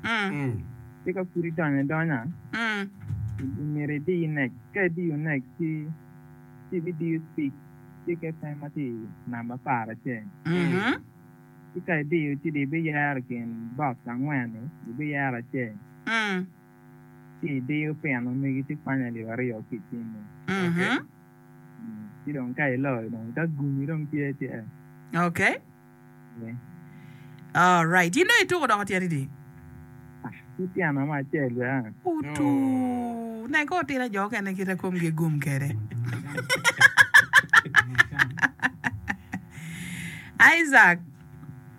Ci ka pud idonyo adonya, myero idi next. Ka idiyo next ci ci ibidiyo speak ci iket ma tye i namba aparacel. Ci ka idiyo ci dong ibiyero i kin box angwen-ni, ibiyero acel. Ci idiyo pin ma megi ci kwanyo alip aryo ki i cimmi. Ci dong ka iloyo dong ka gumi dong tye ci eh. Okay. All right. In dong ituko doko tyen idi? Ki tyena mo acel bene. Otu. Nen ko otira jo okene kite komgi gum kede. Isaac.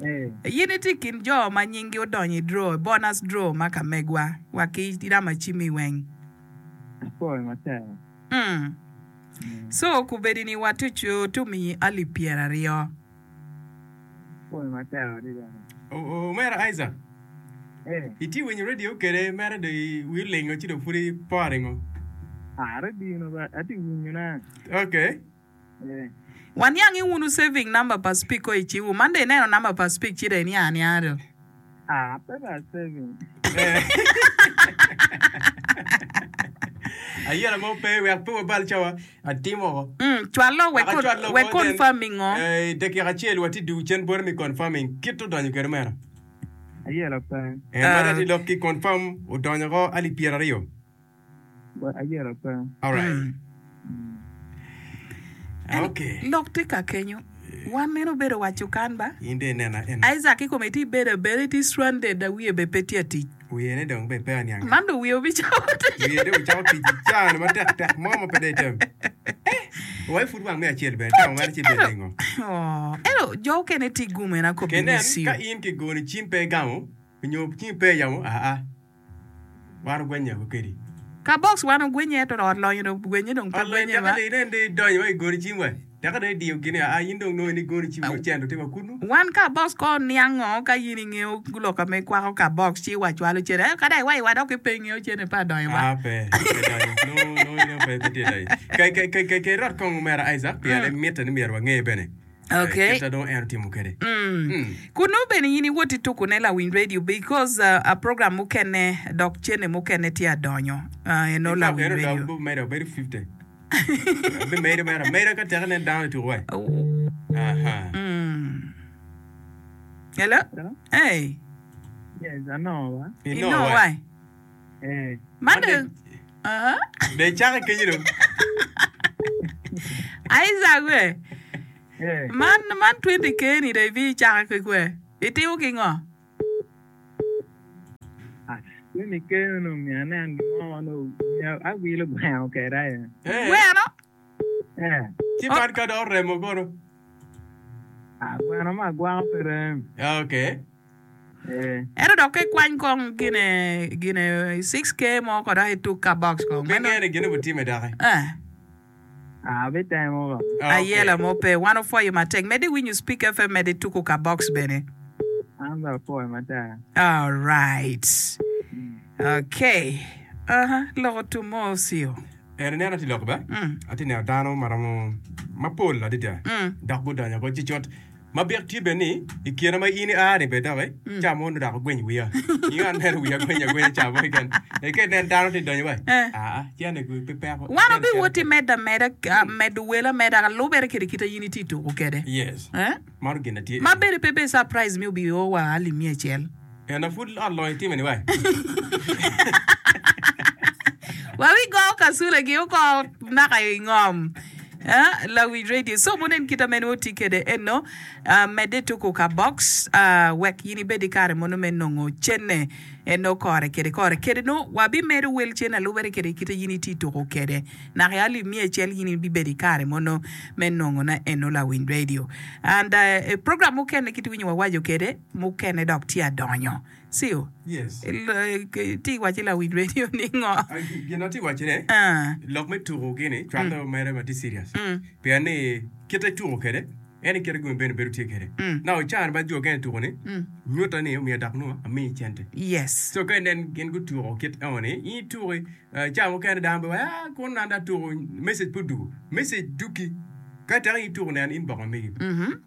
Eh. In itye i kin jo ma nyinggi odonyo i draw, bonus draw ma ka megwa wa ki rama cimmi weng. Apwoyo matek. Mm. So kubedi ni watucu tumiyi alip pyeraryo. Pwoyo matek adada. Omera Isaac, Eh. itye winyo radio kede mere dong wi olingo ci dong pud ipore ngo? Ah, radio no ba atye winyo na. Okay. Eh. Waniang i wunu saving number pa speak ko i ciwu. Man dong ineno number pa speak ci dong iniang anianga do. Ah, pe ba saving. Ayela mo pe wek pe wabal cawa. Atimo oko. Mm, cwalo wek Wek acwal lok wek mo then, confirming o. eh, i dakika acel watye dugu cen bote me confirming kit odonyo kwede omera. Ayela pe. En ma dong atye lok ki confirm odonyo oko alip 20. Wa- Ayela pe. Alright. Okay. Lok tye ka kenyo. Wan meno obedo waco kan ba? In dong inena en. Isaac kikome itye bedo abeda itye stranded a wiye bene pe tye atic. Wiye ne dong bene pe aniang. Man dong wiye obicako tic. Wiye dong ocako tic i caa ni matek tek mo ma pe dong item. Eh! Wai pud wang me acel bene tamo mere ci bed ningo? Oh, ento jo okene tye gum en akobi Kenen ni siu. ka in kigoni cim pe igamo nyo cim pe iyamo aa. Wan ogwenye woko kedi. Ka box wan ogwenye ento ot lonyo dong gwenye dong pe Ot lonyo gwenye teke ba. dong inen dong idonyo wa i goni cim wa. Teke dong idiyo gini aa in dong nongo ni goni cim nongo cente tye wa kunu. Wan ka box ko niang ngo ka in ingeyo lok ma ikwako ka box ci wa cwalo cene ento ka dong iwaco wa dok ki pe ingeyo cene pe adonyo ba. Aa pe, pe donyo. Nongo nongo in pe pe tye donyo. Ke ke ke ke ke irot kong omera Isaac pien mitte ni myero wange bene. Okay. Kita dong en otimo kwede. Mm. Kunu bene in iwot ituku ne lawiny radio because uh, a program mukene dok cene mukene tye adonyo. Uh, eno In fact, lawiny en radio. odok medo obedo 50. Abimedo mere ameda ka teke nen dano ituku wai. Aha. Mm. Hello? Hello? Hey. Yes, anongo ba. Inongo Inongo wai. wai. Eh. Man Man dong Ah. Dong icako kenyo dong. Isaac we. Eh. Man man 20k ni dong ibi icako ki kwe. Itimo ki ngo? Ah, 20k onongo myero anen gin mo ma onongo myero awilo gweno kwede aye. Eh. Gweno? Eh. Ci man ka dong oremo kono. Ah, gweno ma agwako pe rem. Okay. Ento dok ka ikwany kong gine gine 6K mo ko dok ituk ka box kong. Pe ngene gine butime doki. Eh. Abitemo ba. Ayela mo pe. Wan opwoyo matek. Medde iwinyo Speak FM medde ituku ka box bene. An bene apwoyo matek. Alright. Okay. Aha, loko tum mo ocio. En ineno atye loko ba? Atye neno dano maromo mapol adada dok gudonyo ko ci cut. Ma byek tye bene ni, i kine ma in ia-ni bene doki, ca mo nongo dok ogweny wiya. Ingo aneno wiya gweny agwenya ca mo keken. Eka inen dano tye donyo wa, aa, cene gu pe peko. Wan obiwoti medo ameda, medo wel ameda ka lubere kede kite in itye tuko kede. Yes. Eh? Mano gin na tye. Ma bene pe bed surprise mi obi o wa alip miya acel. Ena pud ot lonyo itime ni wai. Wa wi go kasule gi oko naka i ngom. Eh, lawic radio. So munen kita mene oti kede eno, uh, medde tuku ka box, uh, wek in ibed i kare mono me nongo cene eno kore kede kore. Kede no, wabimedo wel cene alubere kede kita in iti tuku kede. Naka i alip miya acel in ibibedo i kare mono me nongo na eno lawiny radio. And uh, program mukene kit winyo wawaco kede, mukene dok tye adonyo. Cio, Yes. Itye ka wacci lawiny radio ni ngo? Gin ma atye ka wacone, Ah. lok me tuko gini cwalle mere ma tye serious. Pien ni kite ituko kwede, en aye kite gumi bene bedo tye kwede. Now i caa ni ma jo okene tuko ni, nyuta ni omiyo dok nongo amiyi cente. Yes. So ka inen gin gutuko kit eno ni, in ituki, eh, caa mukene dano bedo ah kun an dong atuko, message pe odugo. Message duki. Ka teke in ituko nen inbox ma megi.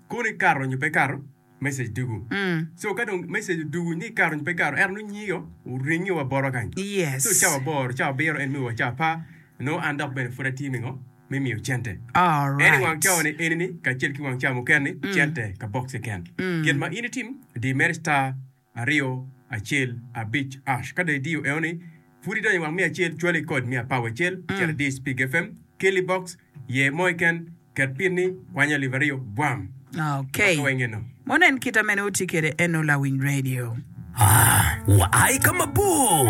Kono ikato nyo pe ikato. Message dugu. So ka dong message odugu ni ikato nyo pe ikato ento nongo nyingi oringi wa botwa kany. Yes. So cawa aboro, cawa abiro en miyo wa cawa apar nongo an dok bene pud atye mingo me miyo cente. Alright. En i wang cawa ni eni ni kacel ki wang cawa mukene ni cente ka box keken. Gin ma in itim di mere star aryo acel abic ash ka dong idiyo eno ni pud idonyo i wang me acel cwali kod me apar wacel cito idi speak FM keli box yer mo keken Ket pinni, kwany alip aryo, bwam. Okay. Wek wenge no. Mono en kita mene wutye kwede eno lawiny radio. Aa, wa ai ka mabor.